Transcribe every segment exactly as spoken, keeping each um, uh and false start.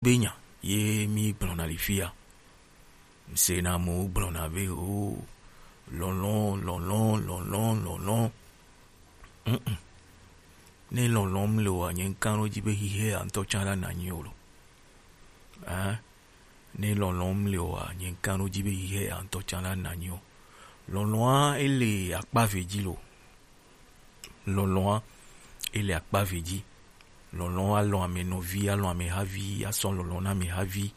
be nya ye mi gblɔna le fia. Ŋsena mo gblɔna be o, lɔlɔ̃, lɔlɔ̃, lɔlɔ̃, lɔlɔ̃. Mm-mm. Ne lɔlɔ̃m le oa, nye ŋkan ɖo dzi be xixe ya ŋutɔ tsã la nanyi o lo. Ah, ne lɔlɔ̃m le oa, nye ŋkan ɖo dzi be xixe ya ŋutɔ tsã la nanyi o. Lɔlɔ̃a ele akpa ve dzi lo. Lɔlɔ̃a ele akpa ve dzi. Lɔlɔ̃ alɔ̃ ame nɔvi, alɔ̃ ame havi, asɔ lɔlɔ̃ na ame havi.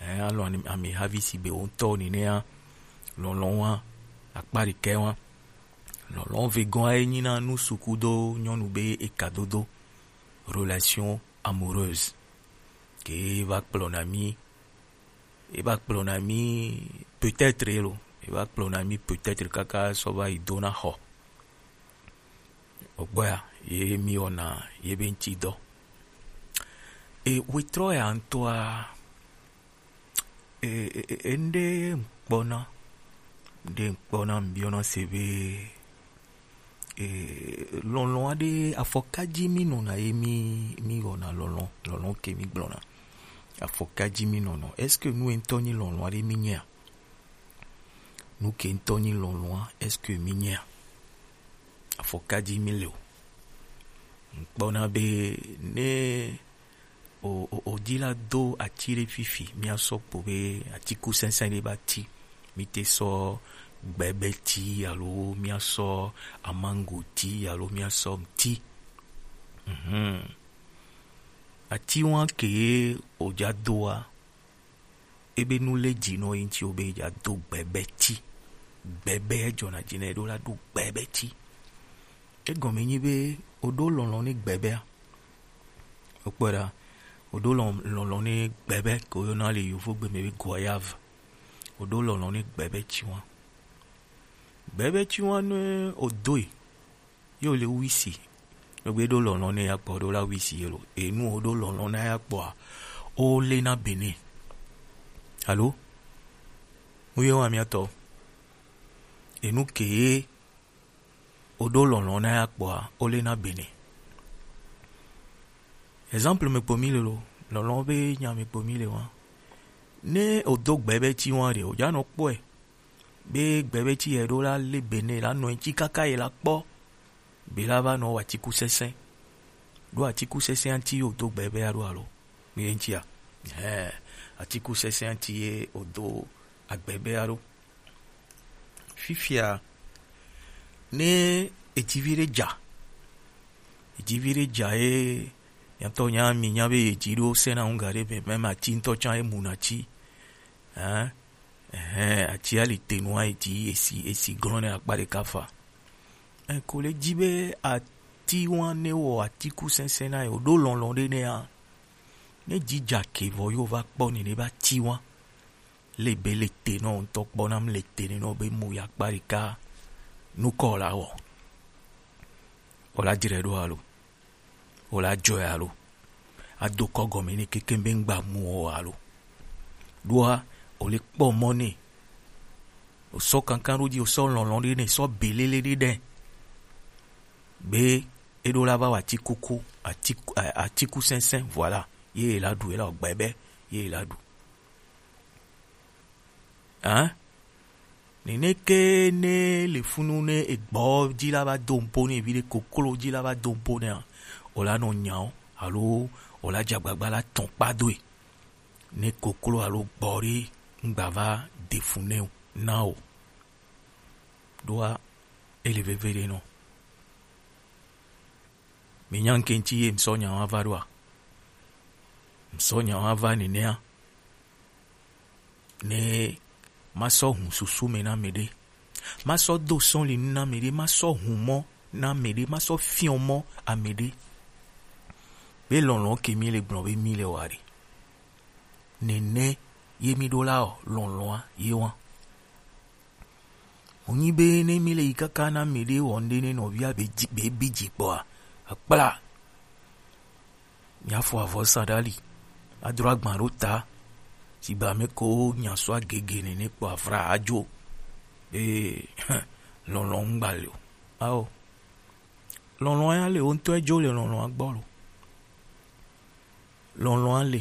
Eh, alɔ̃ ame havi si be wo ŋutɔ nenea. Lɔlɔ̃ wa akpa ɖekɛ wa. Lɔlɔ̃ vegɔa ye nyina nu suku do nyɔnu be ekadodo, relation amoureuse. Ke va kplɔna mi, e va kplɔna mi peut-être lo, e va kplɔna mi peut-être kaka sɔ va yi dona xɔ. Ogbɔa ye mi wɔna ye be ŋuti dɔ. E wetrɔ ya ŋutɔa, e, e, e, ŋɖe ŋkpɔna, ŋɖe ŋkpɔna ŋbiɔna se be, e, lɔlɔ̃ aɖe afɔkadzi mi nɔna ye mi, mi wɔna lɔlɔ̃, lɔlɔ̃ ke mi gblɔna. Afɔkadzi mi nɔnɔ. Est-ce que nu ŋutɔ nyi lɔlɔ̃ aɖe mi nyea? Nu ke ŋutɔ nyi lɔlɔ̃a, est-ce que mi nyea? Afɔkadzi mi le o. Ŋkpɔna be ne o, o, o dzi la do ati ɖe fifi, mia sɔ kpo be atikusɛsɛ ɖe ba ti. Mi te sɔ gbɛbɛ ti alo mia sɔ amango ti alo mia sɔ ŋti. Mhm. Ati wa ke ye o dza doa, ebe nu le dzi nɔ ye ŋti o be dza do gbɛbɛ ti. Gbɛbɛ jɔna dzi nɛ ɖo la do gbɛbɛ ti. Egɔme nyi be o ɖo lɔlɔ̃ ne gbɛbɛa. Okpɔe ɖa, o ɖo lɔn-, lɔlɔ̃ ne gbɛbɛ ke woyɔna le yovogbe me be goyave. O ɖo lɔlɔ̃ ne gbɛbɛ ti wa. Gbɛbɛ ti wa ne o doe, ye o le wisi. Egbe ɖo lɔlɔ̃ ne ya kpɔ ɖo la wisi ye lo. Enu o ɖo lɔlɔ̃ na ya kpɔa, o le na bene. Alo? Mu ye wa mia tɔ. Enu ke ye o ɖo lɔlɔ̃ na ya kpɔa, o le na bene. Exemple me kpo mi le lo, lɔlɔ̃ be nya me kpo mi le wa. Ne o do gbɛbɛ ti wa ɖe, o dza nɔ kpɔe. Be gbɛbɛ ti ye ɖo la le bene la nɔ ŋti kaka ye la kpɔ. Be la va nɔ wa atikusɛsɛ. Ɖo atikusɛsɛ ŋti o do gbɛbɛ a ɖo alo? Mi ye ŋtia? Hɛ, atikusɛsɛ ŋti ye o do agbɛbɛ a ɖo. Fifia, ne edzivi ɖe dza, edzivi ɖe dza ye, nyatɔ nya mi nya be edzi ɖo sena ŋu ga ɖe be, mɛ ma ti ŋutɔ tsã emu na ti. Hɛn, ɛhɛn, ati ali te nua edzi, esi, esi glɔ̃ ne akpa ɖeka fa. Ɛn, ko le dzi be ati wa ne wɔ atikusɛsɛ na ye, o ɖo lɔlɔ̃ ɖe nɛa, ne dzi dza ke vɔ yo va kpɔ ni ne ba ti wa. Le be le te nɔ ŋutɔ kpɔ nam le te ne nɔ be mu ya kpa ɖeka nukɔ la wɔ. O la dzre ɖo alo? O la dzɔe alo? Ado kɔ gɔme ne keke be ŋgba mu o alo? Ɖoa, o le kpɔ mɔ ne. O sɔ kankan ɖo dzi, o sɔ lɔlɔ̃ ɖe ne, sɔ belele ɖe ɖe. Be e ɖo la va wa atikuku, atiku, a-, atikusɛsɛ, voilà. Ye la ɖu, ye la gbɛ be, ye la ɖu. Hein? Nene ke ne le funu ne egbɔ dzi la va do ŋpo ne vi ɖe koklo dzi la va do ŋpo nea, o la nɔ nya o, alo o la dze agbagba la tɔn kpa doe. Ne koklo alo gbɔ ɖe ŋgba va de fu ne o, na o. Ɖoa, ele veve ɖe nɔ. Mi nya ŋke ŋti ye ŋsɔ nya wa va ɖoa? Ŋsɔ nya wa va nenea. Ne ma sɔ hun susu me na me ɖe. Ma sɔ do sɔli nu na me ɖe. Ma sɔ hun mɔ na me ɖe. Ma sɔ fiɔ mɔ ame ɖe. Be lɔlɔ̃ ke mi le gblɔ be mi le wa ɖe. Nene ye mi ɖo la o, lɔlɔ̃a ye wa. Wònyi be ne mi le yi kaka na mɛ ɖe wɔ ŋɖe ne nɔvia be dzi, be bi dzi kpɔa, akpla. Miafɔ avɔ sa ɖe ali, adro agba ɖo ta, sigbe ame ko nya so agege nene kpɔ avra adzo. Be lɔlɔ̃ ŋgba le o. Ao. Lɔlɔ̃ ya le, wo ŋutɔ edzo le lɔlɔ̃a gbɔ lo. Lɔlɔ̃a le,